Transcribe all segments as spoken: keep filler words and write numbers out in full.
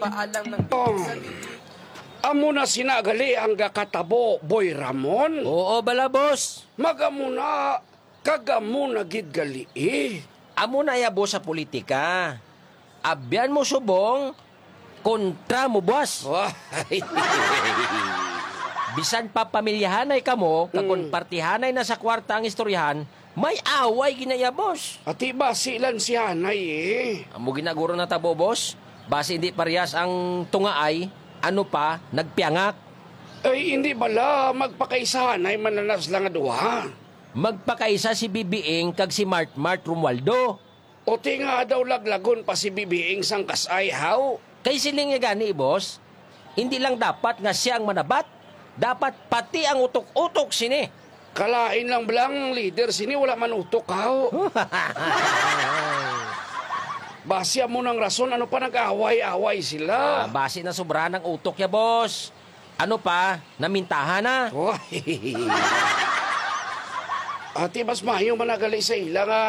Paalang ng Oh. Amo na sina gali ang gakatabo, Boy Ramon. Oo bala, boss. Magamo na, kagamo na gid gali, eh. Amo na ya, boss, sa politika. Abyan mo subong, kontra mo buas. Wah. Bisan pa pamilyahanay kamo, kag kon Mm. partihanay na sa kwarta ang istoryahan, may away ginaya, boss. Ati basi lang si Hanay, eh. Amo ginaguro na tabo, boss. Basi hindi parehas ang tungaay, ano pa, nagpiangak. Ay, hindi bala magpakaisahanay mananas lang nga duha? Magpakaisa si Bibiing kag si Mart Mart Romualdo. O ti nga daw laglagon pa si Bibiing sang kasay, haw? Kay siling niya gani, boss, hindi lang dapat nga siya ang manabat, dapat pati ang utok-utok sini. Kalain lang bala ang leader sini wala man utok, haw? Basi amo nang rason ano pa nag-away-away sila. Ah, basi na sobra ng utok ya, boss. Ano pa? Namintahan na. Oy. Ati, mas maayo man na gali sa ila nga,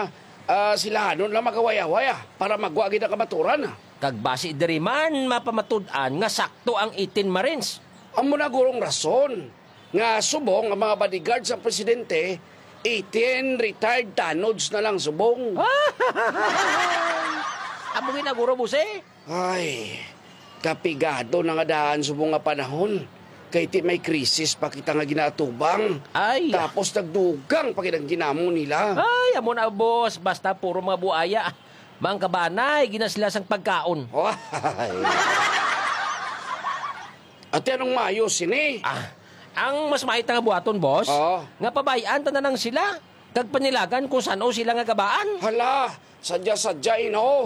ah, sila hanon lang mag-away-away, ah, para magwa gid ang kamaturan, ah. Kag basi diri man mapamatud-an nga sakto ang eighteen Marines. Amo na gurong rason nga subong ang mga bodyguard sa presidente, eighteen retired tanods na lang subong. Amo ginaguro, boss, eh. Ay, kapigado na nga daan subong nga panahon. Kay ti may krisis pa kita nga ginaatubang. Ay. Tapos nagdugang pa gid ang ginamo nila. Ay, amo na, boss. Basta puro mga buaya. Mangkabanay, gina sila sang pagkaon. Ay. Ate, anong mayo sini? Ah, ang mas maita nga buhaton, boss, Oo. nga pabayan ta na lang sila, kag panilagan kung san-o sila nga gabaan. Hala, sadya-sadya, eh, no?